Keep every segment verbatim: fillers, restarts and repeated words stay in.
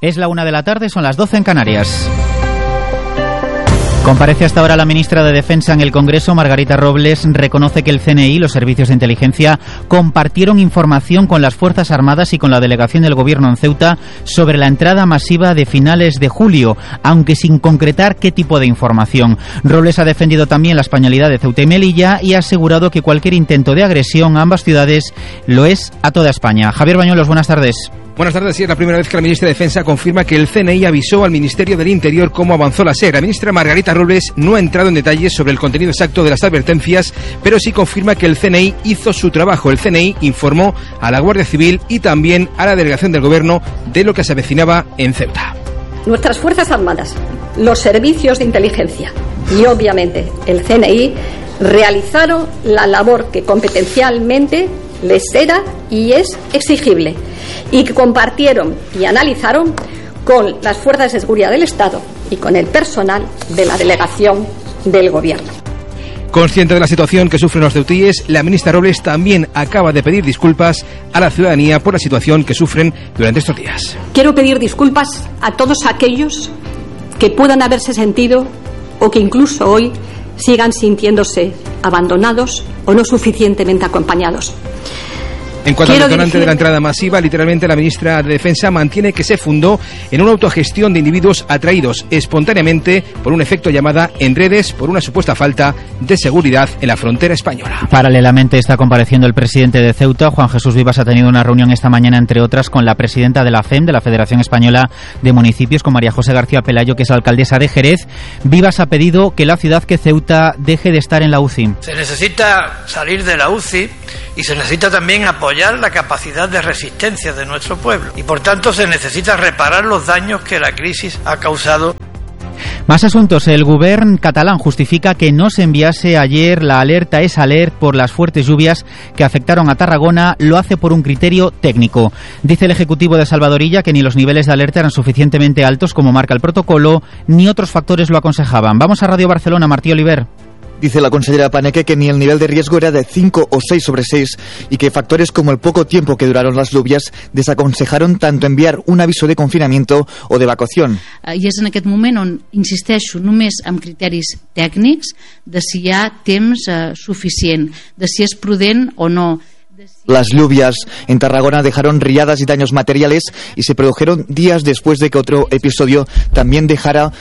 Es la una de la tarde, son las doce en Canarias. Comparece hasta ahora la ministra de Defensa en el Congreso. Margarita Robles reconoce que el C N I y los servicios de inteligencia compartieron información con las Fuerzas Armadas y con la delegación del Gobierno en Ceuta sobre la entrada masiva de finales de julio, aunque sin concretar qué tipo de información. Robles ha defendido también la españolidad de Ceuta y Melilla y ha asegurado que cualquier intento de agresión a ambas ciudades lo es a toda España. Javier Bañuelos, buenas tardes. Buenas tardes. Sí, es la primera vez que la ministra de Defensa confirma que el C N I avisó al Ministerio del Interior cómo avanzó la SER. La ministra Margarita Robles no ha entrado en detalles sobre el contenido exacto de las advertencias, pero sí confirma que el C N I hizo su trabajo. El C N I informó a la Guardia Civil y también a la delegación del Gobierno de lo que se avecinaba en Ceuta. Nuestras Fuerzas Armadas, los servicios de inteligencia y obviamente el C N I realizaron la labor que competencialmente les era y es exigible, y que compartieron y analizaron con las fuerzas de seguridad del Estado y con el personal de la delegación del Gobierno. Consciente de la situación que sufren los ceutíes, la ministra Robles también acaba de pedir disculpas a la ciudadanía por la situación que sufren durante estos días. Quiero pedir disculpas a todos aquellos que puedan haberse sentido o que incluso hoy sigan sintiéndose abandonados o no suficientemente acompañados. En cuanto Quiero al detonante dirigir... de la entrada masiva, literalmente la ministra de Defensa mantiene que se fundó en una autogestión de individuos atraídos espontáneamente por un efecto llamada en redes por una supuesta falta de seguridad en la frontera española. Paralelamente está compareciendo el presidente de Ceuta. Juan Jesús Vivas ha tenido una reunión esta mañana, entre otras, con la presidenta de la F E M, de la Federación Española de Municipios, con María José García Pelayo, que es la alcaldesa de Jerez. Vivas ha pedido que la ciudad, que Ceuta, deje de estar en la U C I. Se necesita salir de la U C I y se necesita también apoyar la capacidad de resistencia de nuestro pueblo. Y por tanto se necesita reparar los daños que la crisis ha causado. Más asuntos. El Govern catalán justifica que no se enviase ayer la alerta es alert por las fuertes lluvias que afectaron a Tarragona. Lo hace por un criterio técnico. Dice el Ejecutivo de Salvadorilla que ni los niveles de alerta eran suficientemente altos como marca el protocolo, ni otros factores lo aconsejaban. Vamos a Radio Barcelona, Martí Oliver. Dice la consellera Paneque que ni el nivel de riesgo era de cinco o seis sobre seis y que factores como el poco tiempo que duraron las lluvias desaconsejaron tanto enviar un aviso de confinamiento o de evacuación. I és en aquest moment on insisteixo només amb criteris tècnics de si hi ha temps eh, suficient, de si és prudent o no. Las lluvias en Tarragona dejaron riadas y daños materiales y se produjeron días después de que otro episodio también dejara uh,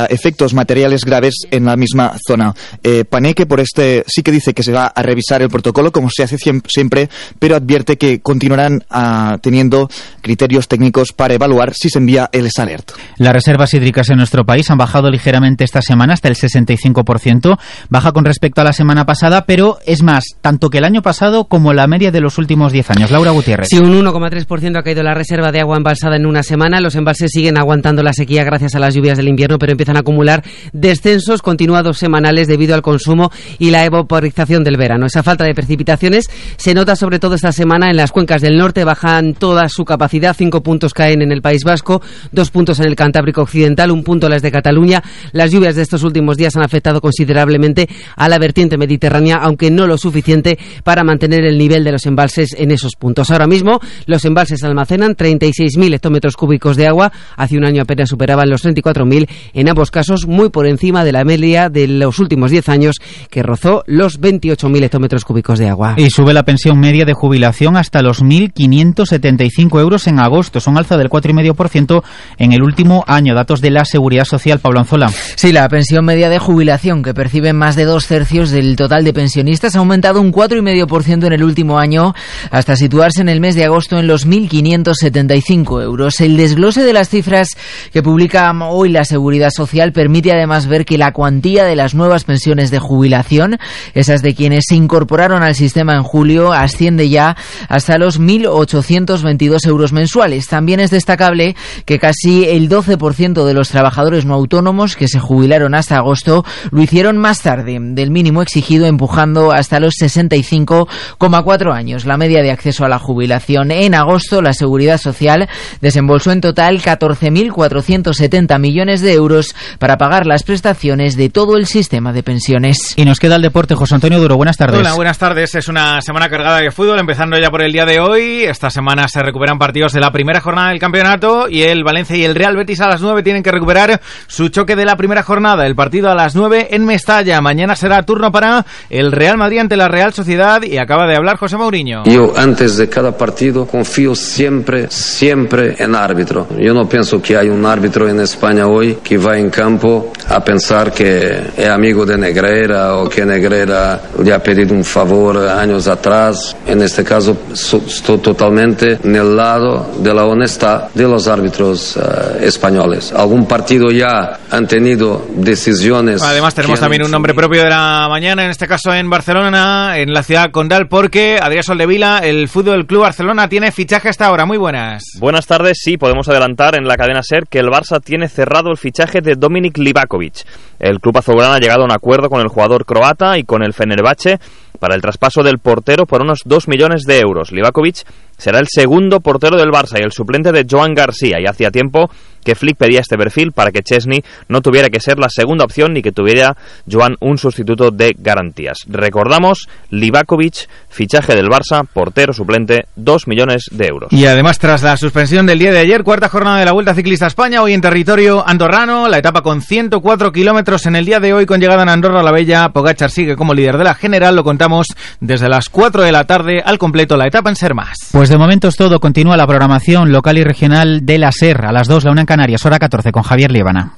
efectos materiales graves en la misma zona. Eh, Paneque por este sí que dice que se va a revisar el protocolo como se hace siempre, pero advierte que continuarán uh, teniendo criterios técnicos para evaluar si se envía el alert. Las reservas hídricas en nuestro país han bajado ligeramente esta semana hasta el sesenta y cinco por ciento, baja con respecto a la semana pasada, pero es más, tanto que el año pasado como la media de los últimos diez años. Laura Gutiérrez. Sí, un uno coma tres por ciento ha caído la reserva de agua embalsada en una semana. Los embalses siguen aguantando la sequía gracias a las lluvias del invierno, pero empiezan a acumular descensos continuados semanales debido al consumo y la evaporización del verano. Esa falta de precipitaciones se nota sobre todo esta semana en las cuencas del norte. Bajan toda su capacidad. Cinco puntos caen en el País Vasco, dos puntos en el Cantábrico Occidental, un punto las de Cataluña. Las lluvias de estos últimos días han afectado considerablemente a la vertiente mediterránea, aunque no lo suficiente para mantener el nivel de los embalses en esos puntos. Ahora mismo los embalses almacenan treinta y seis mil hectómetros cúbicos de agua. Hace un año apenas superaban los treinta y cuatro mil, en ambos casos muy por encima de la media de los últimos diez años, que rozó los veintiocho mil hectómetros cúbicos de agua. Y sube la pensión media de jubilación hasta los mil quinientos setenta y cinco euros en agosto. Es un alza del cuatro coma cinco por ciento en el último año. Datos de la Seguridad Social. Pablo Anzola. Sí, la pensión media de jubilación, que perciben más de dos tercios del total de pensionistas, ha aumentado un cuatro coma cinco por ciento en el último año, hasta situarse en el mes de agosto en los mil quinientos setenta y cinco euros. El desglose de las cifras que publica hoy la Seguridad Social permite además ver que la cuantía de las nuevas pensiones de jubilación, esas de quienes se incorporaron al sistema en julio, asciende ya hasta los mil ochocientos veintidós euros mensuales. También es destacable que casi el doce por ciento de los trabajadores no autónomos que se jubilaron hasta agosto lo hicieron más tarde del mínimo exigido, empujando hasta los sesenta y cinco coma cuatro años. años. La media de acceso a la jubilación. En agosto, la Seguridad Social desembolsó en total catorce mil cuatrocientos setenta millones de euros para pagar las prestaciones de todo el sistema de pensiones. Y nos queda el deporte. José Antonio Duro, buenas tardes. Hola, buenas tardes. Es una semana cargada de fútbol, empezando ya por el día de hoy. Esta semana se recuperan partidos de la primera jornada del campeonato y el Valencia y el Real Betis a las nueve tienen que recuperar su choque de la primera jornada. El partido a las nueve en Mestalla. Mañana será turno para el Real Madrid ante la Real Sociedad y acaba de hablar José Mourinho. Yo antes de cada partido confío siempre, siempre en árbitro. Yo no pienso que hay un árbitro en España hoy que va en campo a pensar que es amigo de Negreira o que Negreira le ha pedido un favor años atrás. En este caso so, estoy totalmente en el lado de la honestidad de los árbitros uh, españoles. Algún partido ya han tenido decisiones. Además tenemos también un nombre propio de la mañana, en este caso en Barcelona, en la ciudad condal, porque Adrián Soldevila, el Fútbol Club Barcelona tiene fichaje hasta ahora. Muy buenas. Buenas tardes. Sí, podemos adelantar en la cadena SER que el Barça tiene cerrado el fichaje de Dominik Livakovic. El club azulgrana ha llegado a un acuerdo con el jugador croata y con el Fenerbahce para el traspaso del portero por unos dos millones de euros. Livakovic será el segundo portero del Barça y el suplente de Joan García, y hacía tiempo que Flick pedía este perfil para que Chesney no tuviera que ser la segunda opción ni que tuviera Joan un sustituto de garantías. Recordamos, Livakovic, fichaje del Barça, portero suplente, dos millones de euros. Y además, tras la suspensión del día de ayer, cuarta jornada de la Vuelta Ciclista a España, hoy en territorio andorrano, la etapa con ciento cuatro kilómetros en el día de hoy, con llegada en Andorra la Bella. Pogačar sigue como líder de la general, lo contamos desde las cuatro de la tarde, al completo la etapa en Ser Más. Pues de momento es todo. Continúa la programación local y regional de la SER. A las dos, la una en Canarias, hora catorce, con Javier Liébana.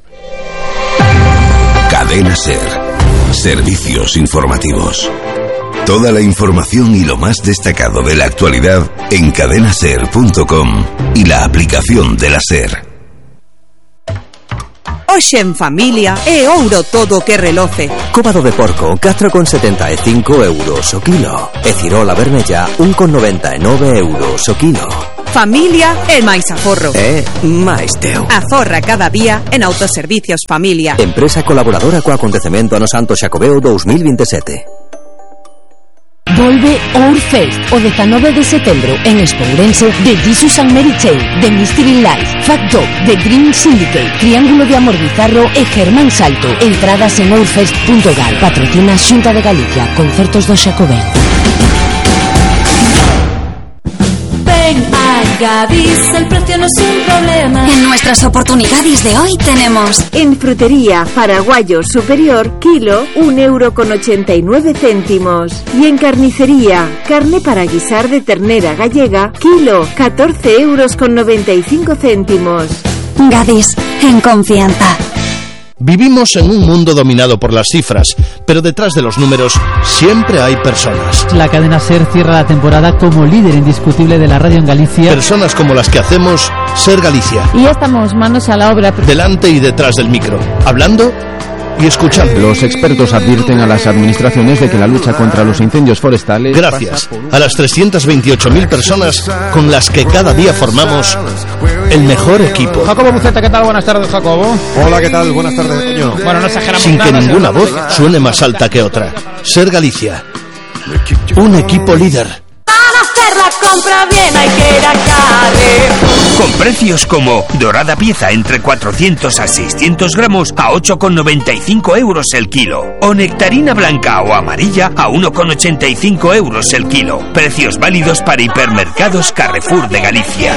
Cadena SER. Servicios informativos. Toda la información y lo más destacado de la actualidad en cadena ser punto com y la aplicación de la SER. Hoxe en familia é ouro todo que reloce. Cóbado de porco, catro con setenta e cinco euros o kilo. E cirola vermella, un con noventa e nove euros o kilo. Familia é máis aforro. É máis teu. Aforra cada día en Autoservicios Familia. Empresa colaboradora co acontecemento ano Santo Xacobeo dos mil veintisiete. Volve Ourfest o dezanove de setembro en Espourense, de Jesus and Mary Chain, de Mystery Life, Fat Dog, de Green Syndicate, Triángulo de Amor Bizarro e Germán Salto. Entradas en ourfest punto gal. Patrocina Xunta de Galicia. Concertos do Xacobeo. Ven a Gadis, el precio no es un problema. En nuestras oportunidades de hoy tenemos: en frutería Paraguayo Superior, kilo, un euro con ochenta y nueve céntimos. Y en carnicería, carne para guisar de ternera gallega, kilo, catorce euros con noventa y cinco céntimos. Gadis, en confianza. Vivimos en un mundo dominado por las cifras, pero detrás de los números siempre hay personas. La cadena SER cierra la temporada como líder indiscutible de la radio en Galicia. Personas como las que hacemos SER Galicia. Y ya estamos manos a la obra. Delante y detrás del micro, hablando y escuchando. Los expertos advierten a las administraciones de que la lucha contra los incendios forestales... Gracias a las trescientas veintiocho mil personas con las que cada día formamos el mejor equipo. Jacobo Buceta, ¿qué tal? Buenas tardes, Jacobo. Hola, ¿qué tal? Buenas tardes, Toño. Bueno, no exageramos Sin nada, que ninguna voz nada. suene más alta que otra. SER Galicia. Un equipo líder. Hacer la compra bien hay que ir a Carrefour. Con precios como dorada pieza entre cuatrocientos a seiscientos gramos a ocho con noventa y cinco euros el kilo. O nectarina blanca o amarilla a uno con ochenta y cinco euros el kilo. Precios válidos para hipermercados Carrefour de Galicia.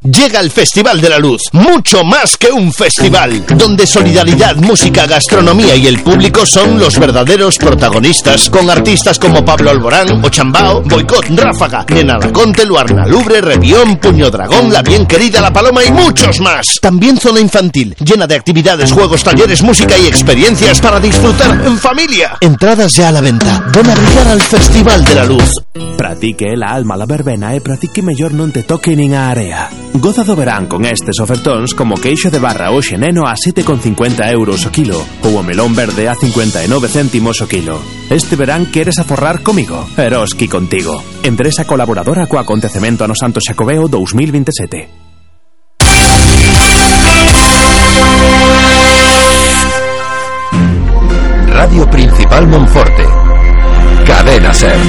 Llega el Festival de la Luz, mucho más que un festival, donde solidaridad, música, gastronomía y el público son los verdaderos protagonistas, con artistas como Pablo Alborán, Ochambao, Boicot, Ráfaga, Nena Laconte, Luarna Lubre, Revión, Puño Dragón, La Bien Querida, La Paloma y muchos más. También zona infantil, llena de actividades, juegos, talleres, música y experiencias para disfrutar en familia. Entradas ya a la venta. Ven a brillar al Festival de la Luz. Pratique la alma la verbena e pratique mellor non te toque nin a area. Goza do verán con estes ofertóns como queixo de barra hoxe neno a sete con cincuenta euros o kilo ou o melón verde a cincuenta e nove céntimos o kilo. Este verán queres aforrar comigo? Eroski contigo. Empresa colaboradora co acontecemento ano Santo Xacobeo dos mil veintisiete. Radio Principal Monforte. Cadena SER.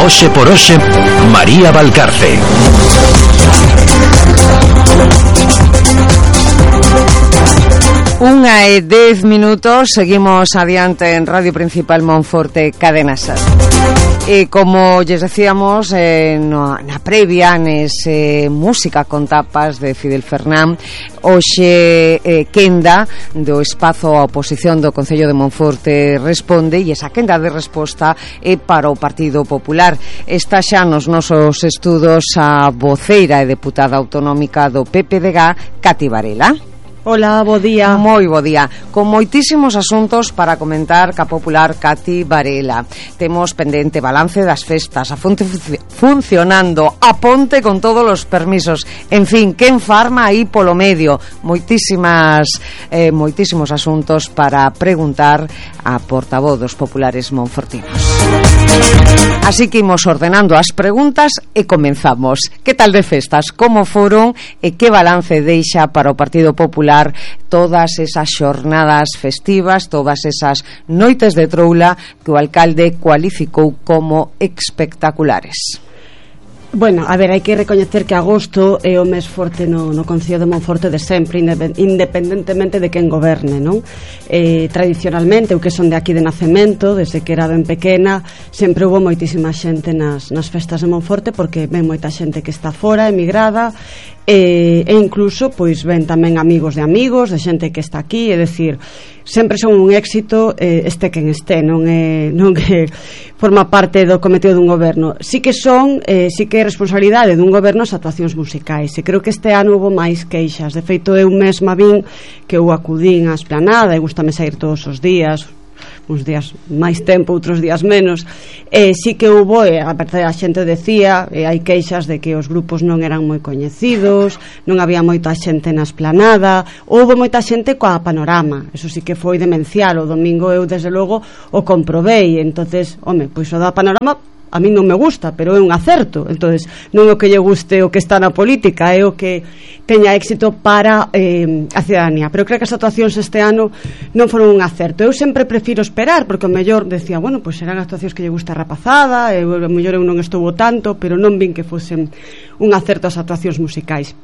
Oxe por Oxe, María Valcarce. Unha e dez minutos, seguimos adiante en Radio Principal Monforte, Cadena Ser. E como lles decíamos eh, no, na previa, nese música con tapas de Fidel Fernán, hoxe eh, quenda do espazo a oposición do Concello de Monforte responde, e esa quenda de resposta é para o Partido Popular. Está xa nos nosos estudos a voceira e deputada autonómica do P P D G, Cati Varela. Hola, bo día. Moi bo día. Con moitísimos asuntos para comentar ca popular Cati Varela. Temos pendente balance das festas, a fonte funcionando, a ponte con todos os permisos. En fin, quen farma aí polo medio. Moitísimas, eh, moitísimos asuntos para preguntar a portavoz dos populares monfortinos. Así que imos ordenando as preguntas e comenzamos. Que tal de festas? Como foron e que balance deixa para o Partido Popular todas esas xornadas festivas, todas esas noites de troula que o alcalde cualificou como espectaculares? Bueno, a ver, hai que recoñecer que agosto é o mes forte no, no Concello de Monforte de sempre, independentemente de quen goberne, non? Eh, tradicionalmente, eu que son de aquí de nacemento, desde que era ben pequena, sempre hubo moitísima xente nas, nas festas de Monforte, porque ven moita xente que está fora, emigrada, e, e incluso, pois, ven tamén amigos de amigos, de xente que está aquí, é dicir, sempre son un éxito, eh, este quen este, non é, non é forma parte do cometido dun goberno. Sí que son, eh, sí que é responsabilidade dun goberno as actuacións musicais, e creo que este ano houve máis queixas. De feito, eu mesma vin que eu acudín á esplanada, e gustame sair todos os días, uns días máis tempo, outros días menos, e sí que hubo, e a verdade a xente decía, e hai queixas de que os grupos non eran moi coñecidos, non había moita xente na esplanada, houve moita xente coa Panorama, eso sí que foi demencial. O domingo eu desde logo o comprobei, entonces, home, pois o da Panorama a mí non me gusta, pero é un acerto. Entonces, non é o que lle guste o que está na política, é o que teña éxito para eh, a ciudadanía. Pero creo que as actuacións este ano non foron un acerto. Eu sempre prefiro esperar, porque o mellor decía, bueno, pois serán actuacións que lle gusta a rapazada, e o mellor eu non estuvo tanto, pero non vin que fosen un acerto as actuacións musicais.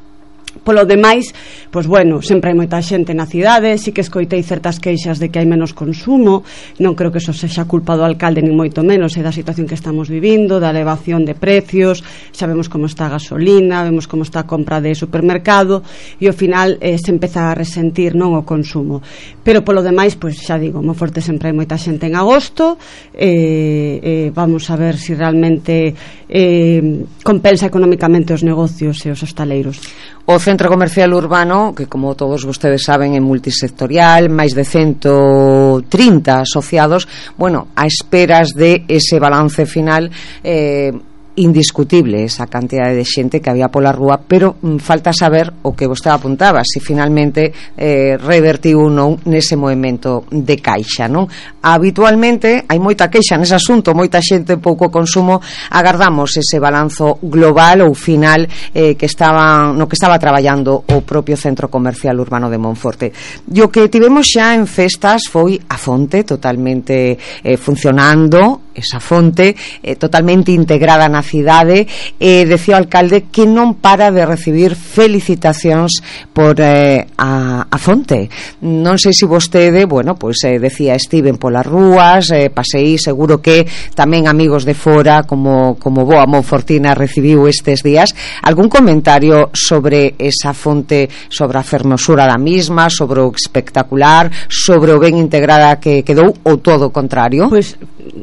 Polo demais, pois bueno, sempre hai moita xente na cidade, sí que escoitei certas queixas de que hai menos consumo, non creo que eso sexa culpa do alcalde ni moito menos, é da situación que estamos vivindo, da elevación de precios, sabemos como está a gasolina, vemos como está a compra de supermercado, e ao final eh, se empeza a resentir, non, o consumo. Pero polo demais, pois xa digo, moi forte sempre hai moita xente en agosto, eh, eh, vamos a ver se si realmente eh, compensa económicamente os negocios e os hostaleiros. O Centro Comercial Urbano, que como todos vostedes saben é multisectorial, máis de ciento trinta asociados, bueno, a esperas de ese balance final, eh, indiscutible esa cantidade de xente que había pola rúa, pero mm, falta saber o que vostede apuntaba, se finalmente eh, revertiu ou non nese movimento de caixa, non? Habitualmente hai moita queixa nese asunto, moita xente, pouco consumo. Agardamos ese balanzo global ou final eh, que estaba, no que estaba traballando o propio Centro Comercial Urbano de Monforte. E o que tivemos xa en festas foi a fonte totalmente eh, funcionando, esa fonte eh, totalmente integrada na cidade, e eh, decía o alcalde que non para de recibir felicitacións por eh, a, a fonte. Non sei se vostede, bueno, pois eh, decía, estiven polas rúas, eh, paseí, seguro que tamén amigos de fora como, como boa monfortina recibiu estes días. Algún comentario sobre esa fonte, sobre a fermosura da misma, sobre o espectacular, sobre o ben integrada que quedou, ou todo o contrario? Pois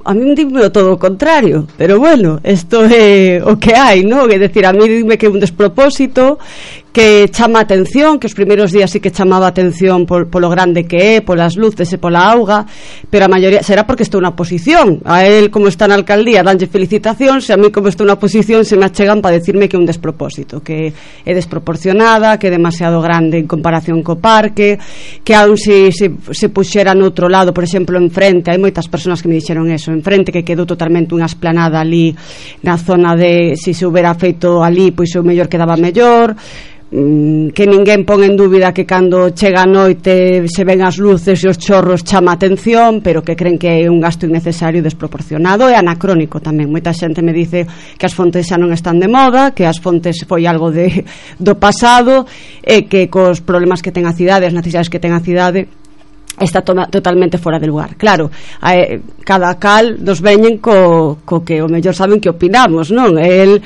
a mí dime todo o contrario, pero bueno, isto é o que hai, non? É dicir, a mí dime que é un despropósito, que chama a atención, que os primeiros días sí que chamaba a atención por, polo grande que é, polas luces e pola auga, pero a maioría será porque estou na oposición. A él, como está na alcaldía, danlle felicitacións, e a mí, como estou na oposición, se me achegan para decirme que é un despropósito, que é desproporcionada, que é demasiado grande en comparación co parque, que aún se, se, se puxera no outro lado, por exemplo, enfrente, hai moitas persoas que me dixeron eso, enfrente, que quedou totalmente unha esplanada ali na zona de, se se houbera feito ali, pois o mellor quedaba mellor. que ninguén pon en dúbida que cando chega a noite se ven as luces e os chorros chama atención, pero que creen que é un gasto innecesario, desproporcionado e anacrónico tamén. Moita xente me dice que as fontes xa non están de moda, que as fontes foi algo de, do pasado, e que cos problemas que ten a cidade, as necesidades que ten a cidade, está to totalmente fora de lugar. Claro, eh, cada cal nos veñen co, co que o mellor saben que opinamos, non? El,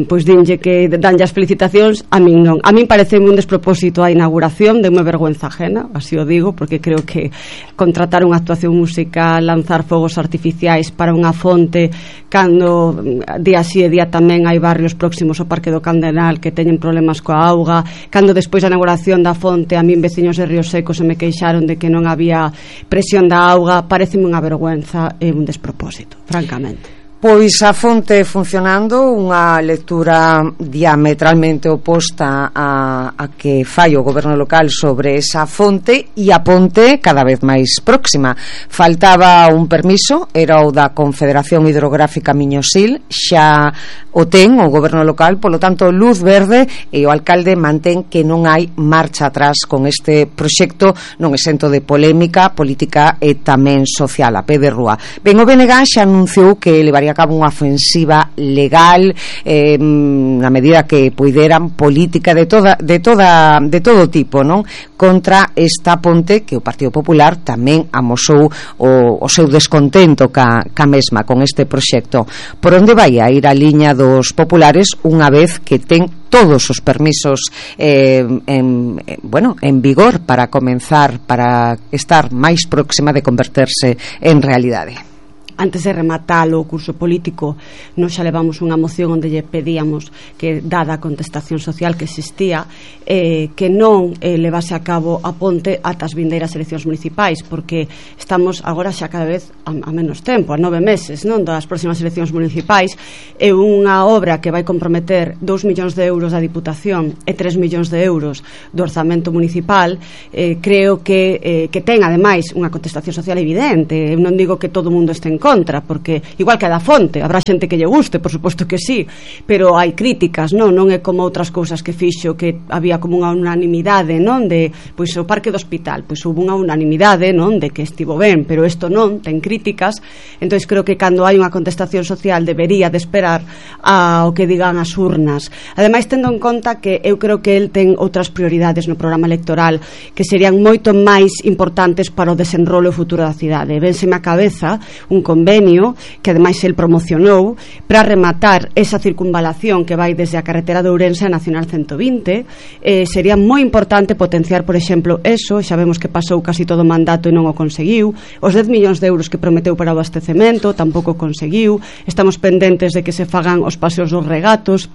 pois dinlle que danlle as felicitacións, a min non. A min parece un despropósito a inauguración, de unha vergüenza ajena, así o digo, porque creo que contratar unha actuación musical, lanzar fogos artificiais para unha fonte, cando día así e día tamén hai barrios próximos ao Parque do Candenal que teñen problemas coa auga, cando despois da inauguración da fonte a min veciños de Río Seco se me queixaron de que non había presión da auga, pareceme unha vergüenza e un despropósito, francamente. Pois a fonte funcionando, unha lectura diametralmente oposta a, a que fai o goberno local sobre esa fonte, e a ponte cada vez máis próxima. Faltaba un permiso, era o da Confederación Hidrográfica Miñosil, xa o ten o goberno local, polo tanto luz verde, e o alcalde mantén que non hai marcha atrás con este proxecto, non exento de polémica política e tamén social, a pé de rúa. Ben, o B N G xa anunciou que levaría a cabo unha ofensiva legal, eh, na medida que puideran, política de toda de toda de todo tipo, non? Contra esta ponte, que o Partido Popular tamén amosou o, o seu descontento ca, ca mesma con este proxecto. Por onde vai a ir a liña dos populares unha vez que ten todos os permisos eh, en, eh, bueno, en vigor para comenzar, para estar máis próxima de converterse en realidade? Antes de rematar o curso político, nos xa levamos unha moción onde lle pedíamos que, dada a contestación social que existía, eh, que non eh, levase a cabo a ponte ata as vindeiras eleccións municipais, porque estamos agora xa cada vez a, a menos tempo, a nove meses, non, das próximas eleccións municipais, e unha obra que vai comprometer dous millóns de euros da Diputación e tres millóns de euros do orzamento municipal, eh, creo que, eh, que ten ademais unha contestación social evidente. Eu non digo que todo o mundo este en contra, porque igual que a da fonte habrá xente que lle guste, por suposto que sí, pero hai críticas, non non é como outras cousas que fixo, que había como unha unanimidade, non, de, pois o parque do hospital, pois houve unha unanimidade, non, de que estivo ben, pero isto non, ten críticas. Entonces creo que cando hai unha contestación social debería de esperar ao que digan as urnas. Ademais, tendo en conta que eu creo que el ten outras prioridades no programa electoral que serían moito máis importantes para o desenrolo e futuro da cidade. Vénseme a cabeza un convenio que ademais el promocionou para rematar esa circunvalación que vai desde a carretera de Ourense a Nacional ciento vinte. Eh, sería moi importante potenciar, por exemplo, eso. Xa vemos que pasou casi todo o mandato e non o conseguiu. Os dez millóns de euros que prometeu para o abastecemento tampouco conseguiu. Estamos pendentes de que se fagan os paseos dos regatos.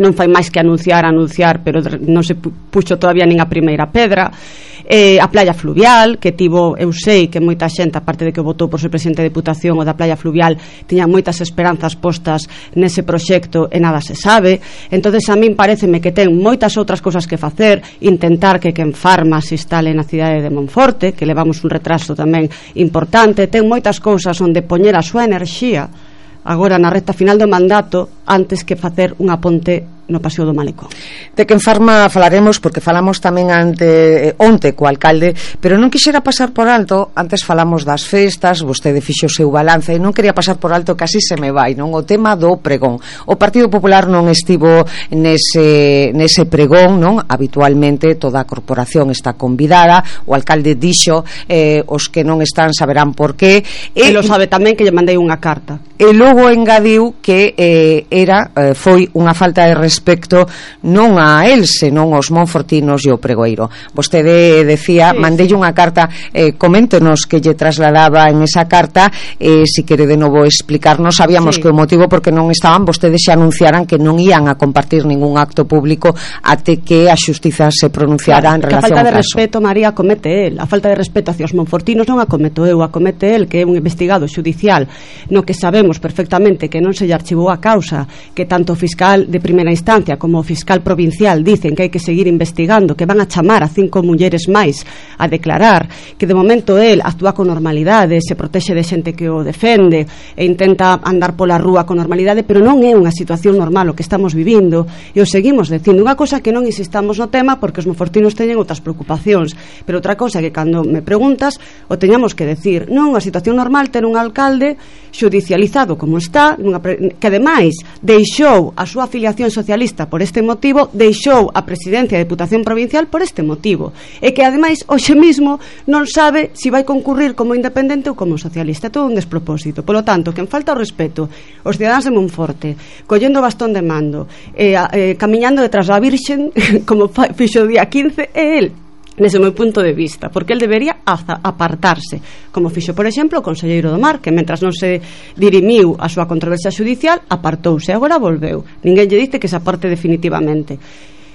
Non fai máis que anunciar, anunciar, pero non se puxo todavía nin a primeira pedra. Eh, a playa fluvial, que tivo, eu sei que moita xente, aparte de que votou por ser presidente de Deputación, o da playa fluvial tiña moitas esperanzas postas nese proxecto e nada se sabe. Entonces a min pareceme que ten moitas outras cousas que facer, intentar que quen farma se instale na cidade de Monforte, que levamos un retraso tamén importante. Ten moitas cousas onde poñer a súa enerxía agora na recta final do mandato antes que facer unha ponte no Paseo do Malecón. De que en Farma falaremos, porque falamos tamén ante, eh, onte co alcalde, pero non quixera pasar por alto, antes falamos das festas, vostede fixo o seu balance, e non quería pasar por alto, casi se me vai, non, o tema do pregón. O Partido Popular non estivo nese, nese pregón, non? Habitualmente toda a corporación está convidada, o alcalde dixo, eh, os que non están saberán por qué. E, e lo sabe tamén que lle mandei unha carta. E logo engadiu que eh, era, eh, foi unha falta de respeto respecto non a el, senón aos monfortinos e o pregoeiro. Vostede decía, sí, mandelle unha carta, eh, coméntenos que lle trasladaba en esa carta, eh, si quere de novo explicarnos. Sabíamos sí. que o motivo porque non estaban, vostedes xa anunciaran que non ían a compartir ningún acto público até que a xustiza se pronunciara claro, en relación ao caso. A falta de respeto, María, comete el. A falta de respeto hacia os monfortinos non a cometo eu, a comete el, que é un investigado xudicial no que sabemos perfectamente que non se lle archivou a causa, que tanto o fiscal de primeira instancia instancia como o fiscal provincial dicen que hai que seguir investigando, que van a chamar a cinco mulleres máis a declarar, que de momento el actúa con normalidade, se protexe de xente que o defende e intenta andar pola rúa con normalidade, pero non é unha situación normal o que estamos vivindo, e o seguimos dicindo. Unha cosa que non insistamos no tema porque os monfortinos teñen outras preocupacións, pero outra cosa que cando me preguntas o teñamos que decir. Non, a situación normal ter un alcalde xudicializado como está, nunha pre... que ademais deixou a súa afiliación socialista por este motivo, deixou a presidencia da Deputación Provincial por este motivo, e que ademais hoxe mesmo non sabe se si vai concurrir como independente ou como socialista. É todo un despropósito. Polo tanto, quen falta o respeto os cidadáns de Monforte, collendo o bastón de mando e eh, camiñando detrás da Virxen como fixo o día quince, é el, nese meu punto de vista, porque el debería apartarse, como fixo, por exemplo, o conselleiro do Mar, que mentras non se dirimiu a súa controversia judicial, apartouse, agora volveu. Ninguén lle dice que se aparte definitivamente.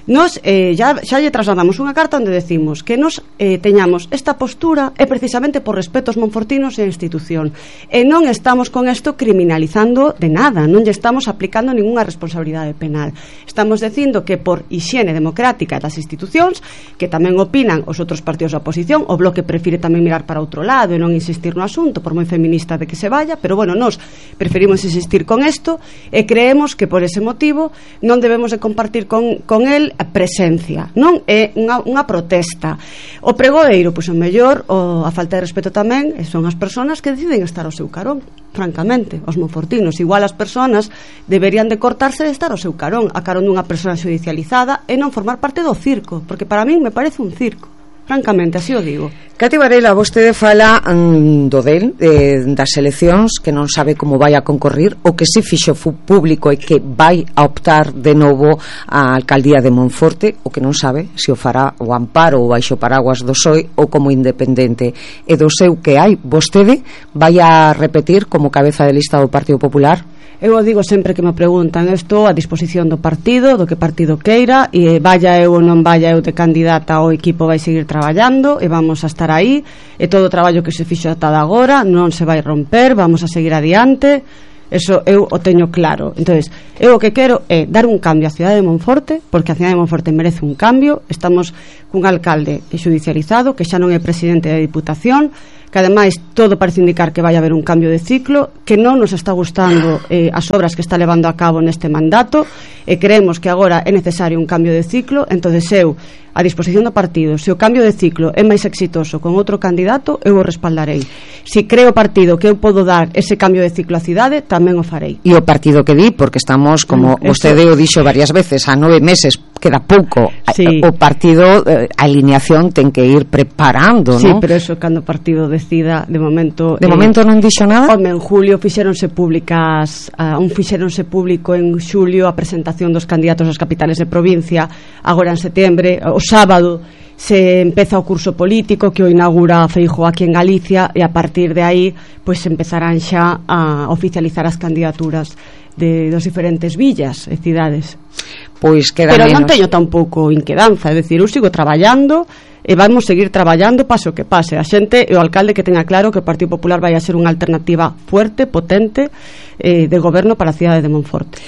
Nos eh, ya, xa lle trasladamos unha carta onde decimos que nos eh, teñamos esta postura é precisamente por respeto aos monfortinos e a institución, e non estamos con isto criminalizando de nada, non lle estamos aplicando ninguna responsabilidade penal. Estamos dicindo que por hixiene democrática das institucións, que tamén opinan os outros partidos da oposición, o Bloque prefire tamén mirar para outro lado e non insistir no asunto, por moi feminista de que se vaya, pero bueno, nos preferimos insistir con isto e creemos que por ese motivo non debemos de compartir con, con el a presencia, non é unha, unha protesta. O pregoeiro, pois o mellor, o, a falta de respeto tamén son as persoas que deciden estar ao seu carón, francamente, os monfortinos. Igual as persoas deberían de cortarse de estar ao seu carón, a carón dunha persoa judicializada e non formar parte do circo, porque para min me parece un circo. Francamente, así o digo. Cati Varela, vostede fala mm, do del, eh, das eleccións, que non sabe como vai a concorrir, o que si fixo público e que vai a optar de novo a alcaldía de Monforte, o que non sabe se o fará o amparo ou baixo paraguas do P S O E ou como independente. E do seu que hai, vostede vai a repetir como cabeza de lista do Partido Popular? Eu o digo sempre que me preguntan, eu estou a disposición do partido, do que partido queira, e vaya eu ou non vaya eu de candidata, o equipo vai seguir traballando e vamos a estar aí, e todo o traballo que se fixo ata agora non se vai romper, vamos a seguir adiante. Eso eu o teño claro. Entonces, eu o que quero é dar un cambio á cidade de Monforte, porque a cidade de Monforte merece un cambio. Estamos cun alcalde judicializado que xa non é presidente da Diputación, que ademais todo parece indicar que vai haber un cambio de ciclo, que non nos está gustando eh, as obras que está levando a cabo neste mandato, e creemos que agora é necesario un cambio de ciclo. Entonces eu, a disposición do partido, se o cambio de ciclo é máis exitoso con outro candidato, eu o respaldarei. Se creo o partido que eu podo dar ese cambio de ciclo á cidade, tamén o farei. E o partido que di, porque estamos, como mm, vostede o dixo varias veces, a nove meses, queda pouco, sí. O partido, eh, a alineación ten que ir preparando, sí, non? Sí, pero eso cando o partido decida, de momento... De eh, momento non dixo nada? Home, en julio fixeronse públicas, uh, un fixeronse público en xulio a presentación dos candidatos ás capitales de provincia, agora en setembro, o sábado se empeza o curso político que o inaugura Feijóo aquí en Galicia, e a partir de aí pois empezarán xa a oficializar as candidaturas de dos diferentes villas e cidades. Pois queda Pero menos. Non teño tampouco inquedanza, é dicir, eu sigo traballando e vamos seguir traballando paso que pase. A xente e o alcalde que teña claro que o Partido Popular vai a ser unha alternativa fuerte, potente eh, de goberno para a cidade de Monforte.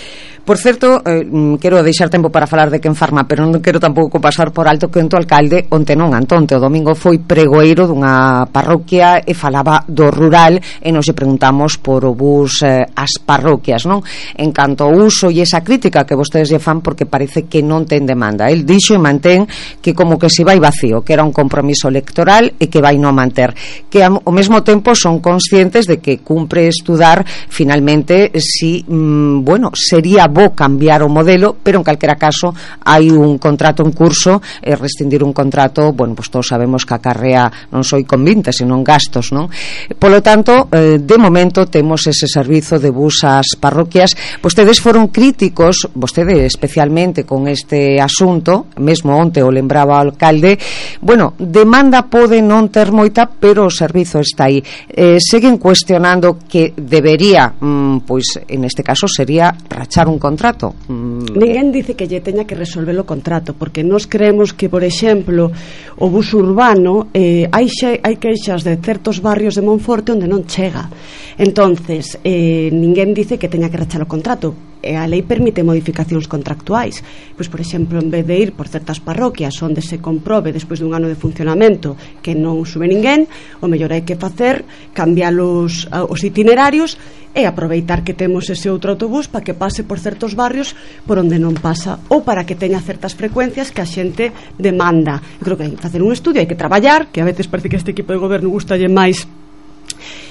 Por certo, eh, quero deixar tempo para falar de quen farma, pero non quero tampouco pasar por alto que o alcalde onte non, Antonte, o domingo foi pregoeiro dunha parroquia e falaba do rural, e nos lle preguntamos por o bus eh, ás parroquias, non? En canto ao uso e esa crítica que vostedes lle fan porque parece que non ten demanda. El dixo e mantén que como que se vai vacío, que era un compromiso electoral e que vai non manter, que ao mesmo tempo son conscientes de que cumpre estudar finalmente si, mm, bueno, sería bo cambiar o modelo, pero en calquera caso hai un contrato en curso, e rescindir un contrato, bueno, pues todos sabemos que acarrea non só convintes, senón gastos, non? Polo tanto, eh, de momento temos ese servizo de bus ás parroquias. Vostedes foron críticos, vostede especialmente con este asunto, mesmo onte o lembraba o alcalde, bueno, demanda pode non ter moita, pero o servizo está aí. Eh, seguen cuestionando que debería, mm, pois en este caso sería rachar un contrato. Mm. Ninguén dice que lle teña que resolver o contrato, porque nós creemos que, por exemplo, o bus urbano, eh, hai, xe, hai queixas de certos barrios de Monforte onde non chega. Entonces, eh, ninguén dice que teña que rachar o contrato. e a lei permite modificacións contractuais. Pois, por exemplo, en vez de ir por certas parroquias onde se comprobe despois dun ano de funcionamento que non sube ninguén, o mellor hai que facer cambiar os, os itinerarios e aproveitar que temos ese outro autobús para que pase por certos barrios por onde non pasa, ou para que teña certas frecuencias que a xente demanda. Eu creo que hai que facer un estudio, hai que traballar, que a veces parece que este equipo de goberno gustalle máis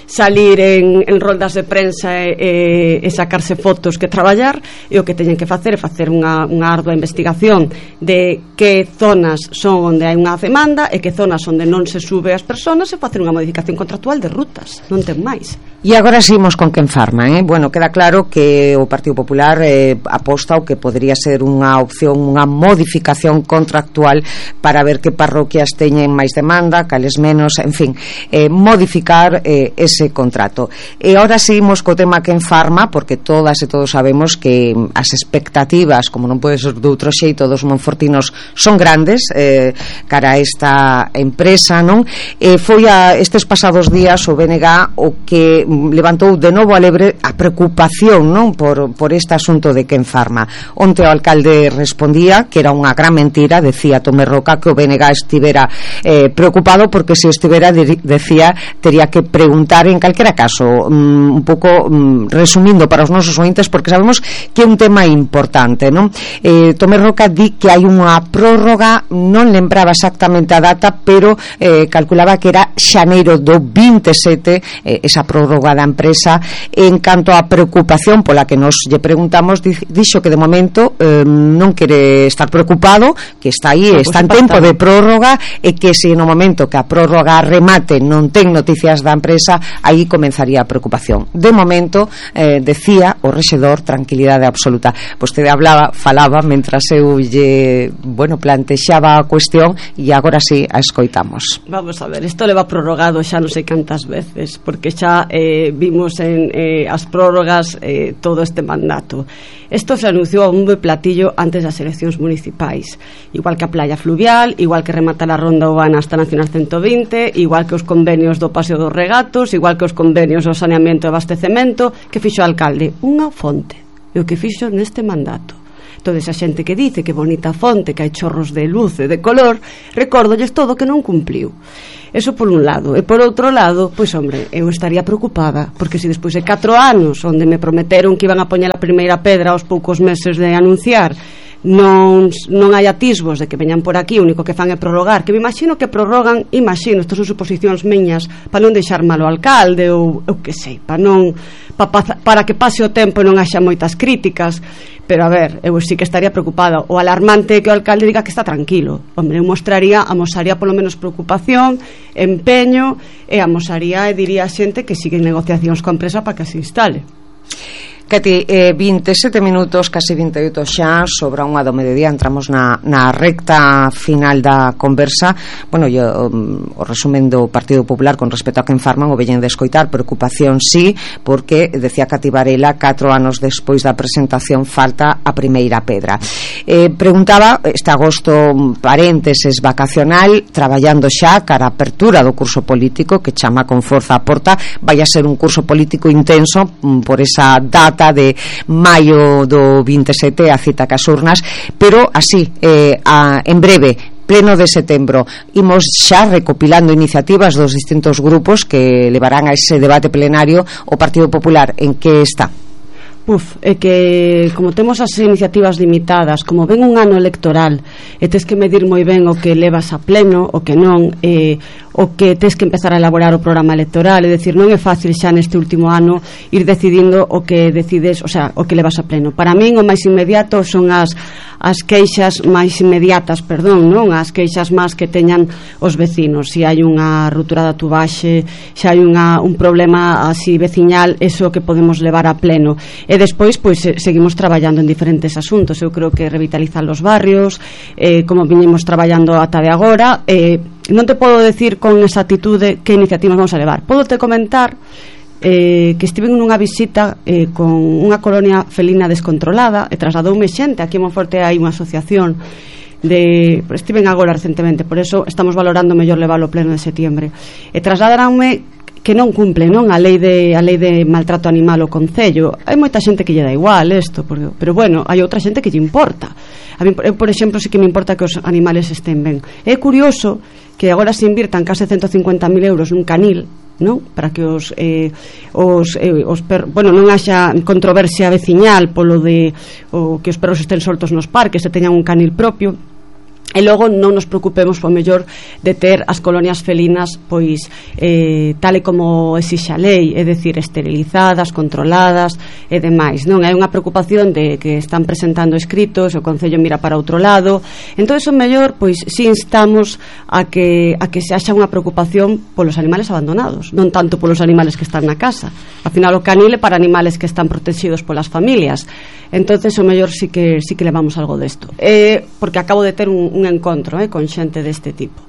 salir en, en roldas de prensa e, e sacarse fotos que traballar, e o que teñen que facer é facer unha, unha ardua investigación de que zonas son onde hai unha demanda e que zonas onde non se sube as persoas, e facer unha modificación contractual de rutas, non ten máis. E agora seguimos con quen farma, eh? Bueno, queda claro que o Partido Popular eh, aposta o que podría ser unha opción, unha modificación contractual para ver que parroquias teñen máis demanda, cales menos, en fin, eh, modificar eh, ese contrato. E agora seguimos co tema quen farma, porque todas e todos sabemos que as expectativas, como non pode ser de outro xeito, dos monfortinos son grandes eh, cara a esta empresa, non? Eh, foi a estes pasados días o B N G o que levantou de novo a lebre a preocupación, non, por, por este asunto de quen farma. Onte o alcalde respondía que era unha gran mentira, decía Tomé Roca, que o B N G estivera eh, preocupado, porque se estivera, decía, tería que preguntar en calquera caso, um, un pouco um, resumindo para os nosos ointes, porque sabemos que é un tema importante, non? Eh, Tomé Roca di que hai unha prórroga, non lembraba exactamente a data, pero eh, calculaba que era xaneiro do vinte e sete, eh, esa prórroga da empresa. En canto á preocupación pola que nos lle preguntamos, dixo que de momento eh, non quere estar preocupado, que está aí, no, está en tempo de prórroga, e que se no momento que a prórroga remate non ten noticias da empresa, aí comenzaría a preocupación. De momento, eh, decía o rexedor, tranquilidade absoluta. Vostede hablaba, falaba mentras eu lle, bueno, plantexaba a cuestión, e agora sí a escoitamos. Vamos a ver, isto leva prorrogado xa non sei cantas veces, porque xa eh, vimos en eh, as prórrogas eh, todo este mandato. Isto se anunciou a bombo e platillo antes das eleccións municipais, igual que a playa fluvial, igual que rematar a ronda urbana hasta Nacional ciento vinte, igual que os convenios do Paseo dos Regatos, igual que os convenios do saneamento e abastecemento. Que fixo o alcalde? Unha fonte, e o que fixo neste mandato. Toda esa xente que dice que bonita fonte, que hai chorros de luz e de color, recórdolles todo que non cumpliu. Eso por un lado. E por outro lado, pois hombre, eu estaría preocupada, porque se despois de catro anos onde me prometeron que iban a poñer a primeira pedra aos poucos meses de anunciar, non, non hai atisbos de que veñan por aquí, o único que fan é prorrogar, que me imagino que prorrogan, imagino, estas son suposicións miñas, para non deixar mal o alcalde, ou eu que sei, para non pa, pa, para que pase o tempo e non haxa moitas críticas. Pero a ver, eu sí que estaría preocupada. O alarmante é que o alcalde diga que está tranquilo. Hombre, eu mostraría, amosaría polo menos preocupación, empeño, e amosaría e diría a xente que siguen negociacións coa empresa para que se instale. Cati, eh, vinte e sete minutos, casi vinte e oito xa, sobra unha do mediodía, entramos na, na recta final da conversa. Bueno, yo, um, o resumen do Partido Popular con respecto a quen farman, o veñen de escoitar, preocupación sí, porque, decía Cati Varela, catro anos despois da presentación falta a primeira pedra. Eh, preguntaba, este agosto, parénteses vacacional, traballando xa cara a apertura do curso político, que chama con forza a porta, vai a ser un curso político intenso por esa data de maio do vinte e sete, a cita cas urnas, pero así, eh, a, en breve, pleno de setembro, imos xa recopilando iniciativas dos distintos grupos que levarán a ese debate plenario. O Partido Popular en que está? Uf, é que como temos as iniciativas limitadas, como ven un ano electoral e tes que medir moi ben o que levas a pleno, o que non, e o que tes que empezar a elaborar o programa electoral, é dicir, non é fácil xa neste último ano ir decidindo o que decides, o sea, o que levas a pleno. Para min o máis inmediato son as as queixas máis inmediatas, perdón, non, as queixas máis que teñan os vecinos. Se hai unha ruptura da tubaxe, se hai unha, un problema así veciñal, eso que podemos levar a pleno. E despois, pois, seguimos traballando en diferentes asuntos. Eu creo que revitalizar os barrios, eh, como viñemos traballando ata de agora. Eh, non te podo decir con exactitude que iniciativas vamos a levar. Podo te comentar eh, que estive nunha visita eh, con unha colonia felina descontrolada e trasladoume xente. Aquí en Monforte hai unha asociación de, estiven agora recentemente, por eso estamos valorando mellor leválo pleno de setiembre, e trasladaranme que non cumple, non, a lei de a lei de maltrato animal o concello. Hai moita xente que lle dá igual isto, porque, pero bueno, hai outra xente que lle importa. A mí, eu, por exemplo, sí que me importa que os animales estén ben. É curioso que agora se invirtan case ciento cincuenta mil euros nun canil, non? Para que os eh, os, eh, os per, bueno, non haxa controversia veciñal polo de o que os perros estén soltos nos parques e teñan un canil propio. E logo non nos preocupemos po mellor de ter as colonias felinas pois eh, tal e como exixe a lei, é dicir, esterilizadas, controladas e demais, non? Hai unha preocupación de que están presentando escritos, o Concello mira para outro lado. Entón, o mellor, pois si instamos a que a que se haxa unha preocupación polos animales abandonados, non tanto polos animales que están na casa. Al final o canil é para animales que están protegidos polas familias. Entonces, o mellor sí que sí que levamos algo desto. Eh, porque acabo de ter un, un encontro eh, con xente deste tipo.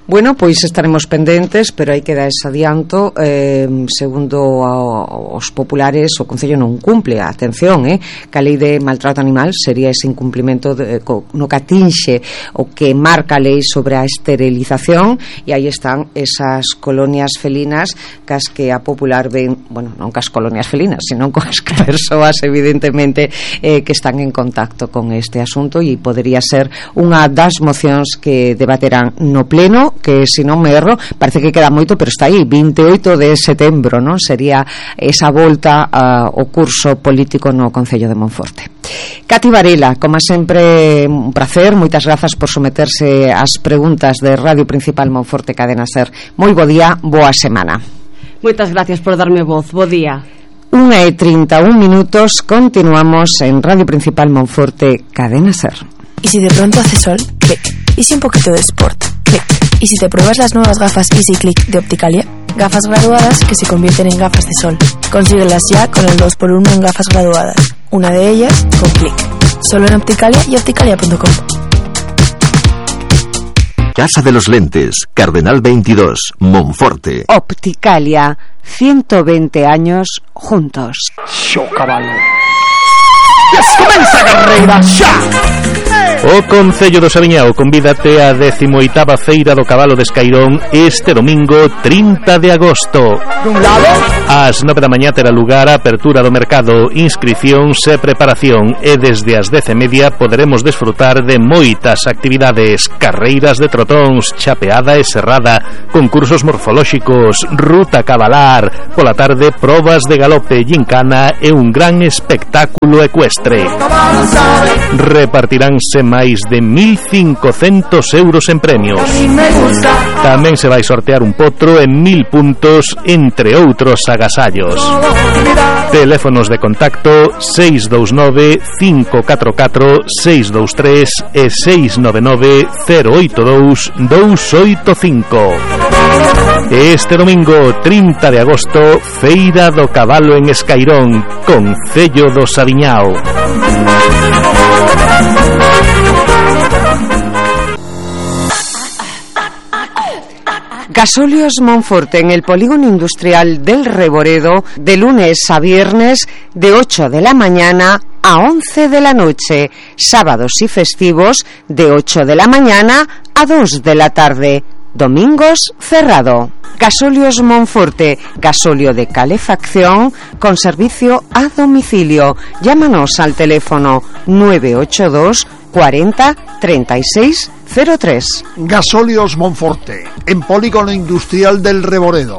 Bueno, pois estaremos pendentes, pero hai que dar ese adianto. Eh, segundo a, os populares, o Concello non cumple, atención, eh, que a lei de maltrato animal sería ese incumplimento de, co, no que atinxe o que marca a lei sobre a esterilización, e aí están esas colonias felinas cas que a popular ven, bueno, non cas colonias felinas, sino con as persoas evidentemente eh, que están en contacto con este asunto, e podería ser unha das mocións que debaterán no pleno, que se non me erro, parece que queda moito, pero está aí, vinte e oito de setembro, non? Sería esa volta uh, ao curso político no Concello de Monforte. Cati Varela, como sempre, un placer, moitas grazas por someterse ás preguntas de Radio Principal Monforte Cadena Ser. Moi bo día, boa semana. Moitas gracias por darme voz, bo día. Unha e trinta e un minutos, continuamos en Radio Principal Monforte Cadena Ser. ¿Y si de pronto hace sol? Clic. ¿Y si un poquito de sport? Clic. ¿Y si te pruebas las nuevas gafas Easy Click de Opticalia? Gafas graduadas que se convierten en gafas de sol. Consíguelas ya con el dos por uno en gafas graduadas. Una de ellas con Clic. Solo en Opticalia y opticalia punto com. Casa de los Lentes, Cardenal veintidós, Monforte. Opticalia, ciento veinte años juntos. Xo cabalo. Comeza a carreira xa. O Concello do Saviñao convídate á décimo oitava Feira do Cabalo de Escairón este domingo trinta de agosto. Ás nove da mañá terá lugar a apertura do mercado, inscricións e preparación, e desde as dez e media poderemos desfrutar de moitas actividades: carreiras de trotóns, chapeada e serrada, concursos morfolóxicos, ruta cabalar, pola tarde probas de galope, gincana e un gran espectáculo ecuestre. Repartiránse máis de mil cincocentos euros en premios. Tamén se vai sortear un potro en mil puntos, entre outros agasallos. Teléfonos de contacto seis dous nove, cinco catro catro, seis dous tres e seis nove nove, cero oito dous, dous oito cinco. Este domingo trinta de agosto, Feira do Cabalo en Escairón, Concello do Saviñao. Gasóleos Monforte en el polígono industrial del Reboredo, de lunes a viernes de ocho de la mañana a once de la noche, sábados y festivos de ocho de la mañana a dos de la tarde, domingos cerrado. Gasóleos Monforte, gasóleo de calefacción con servicio a domicilio. Llámanos al teléfono nueve ocho dos cuarenta treinta y seis cero tres. Gasóleos Monforte, en polígono industrial del Reboredo.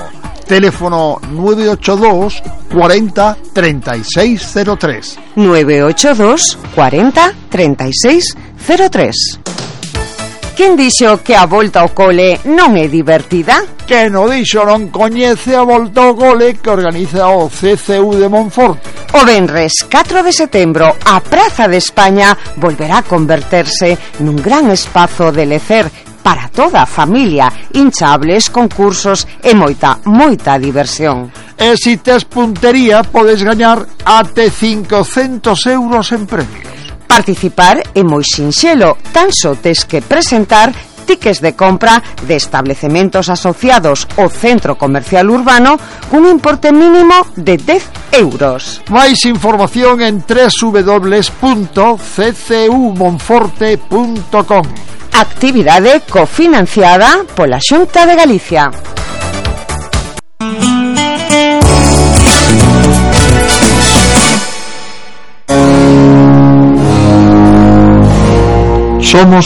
Teléfono nueve ocho dos cuarenta treinta y seis cero tres. nueve ocho dos cuarenta treinta y seis cero tres. Quen dixo que a volta ao cole non é divertida? Que no dixo non coñece a volta ao cole que organiza o C C U de Monforte. O venres catro de setembro a Praza de España volverá a converterse nun gran espazo de lecer para toda a familia, hinchables, concursos e moita, moita diversión. E se tes puntería podes gañar até cincocentos euros en premios. Participar é moi sinxelo, tan só tes que presentar tickets de compra de establecementos asociados ao centro comercial urbano cun importe mínimo de dez euros. Máis información en doble u doble u doble u punto c c u monforte punto com. Actividade cofinanciada pola Xunta de Galicia. Somos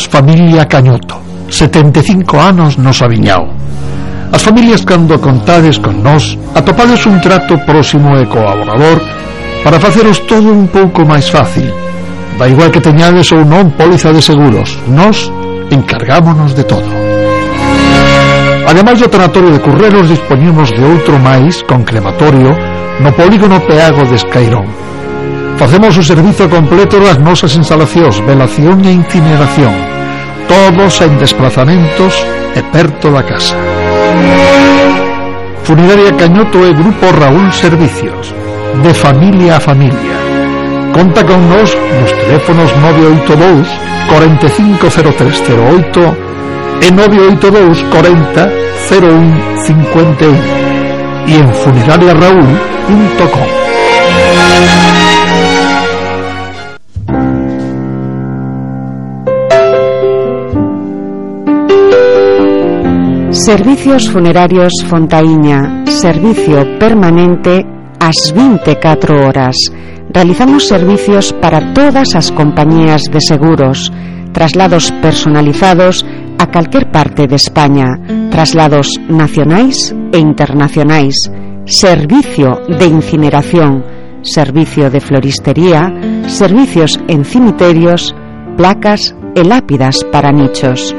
familia Cañoto, setenta e cinco anos nos aviñao. As familias, cando contades con nós, atopades un trato próximo e colaborador para faceros todo un pouco máis fácil. Da igual que teñades ou non póliza de seguros, nós encargámonos de todo. Ademais do tanatorio de Curreros, dispoñemos de outro máis con crematorio no polígono Peago de Escairón. Facemos o servizo completo das nosas instalacións, velación e incineración, todos en desplazamentos e perto da casa. Funeraria Cañoto e Grupo Raúl Servicios, de familia a familia. Conta con nos nos teléfonos nove oito dous, cuarenta e cinco cero tres cero oito e nove oito dous, cuarenta cero un cincuenta y uno e en funeraria raúl punto com. Servicios Funerarios Fontaíña, servicio permanente ás vinte e catro horas. Realizamos servicios para todas as compañías de seguros, traslados personalizados a calquer parte de España, traslados nacionais e internacionais, servicio de incineración, servicio de floristería, servicios en cimiterios, placas e lápidas para nichos.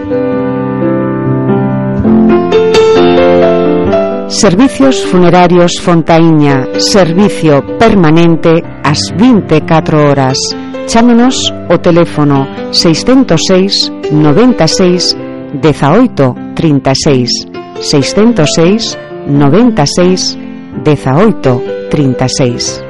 Servicios Funerarios Fontaíña, servicio permanente ás vinte e catro horas. Chámenos o teléfono seiscentos seis, noventa e seis, dezaoito, trinta e seis, seiscentos seis, noventa e seis, dezaoito, trinta e seis.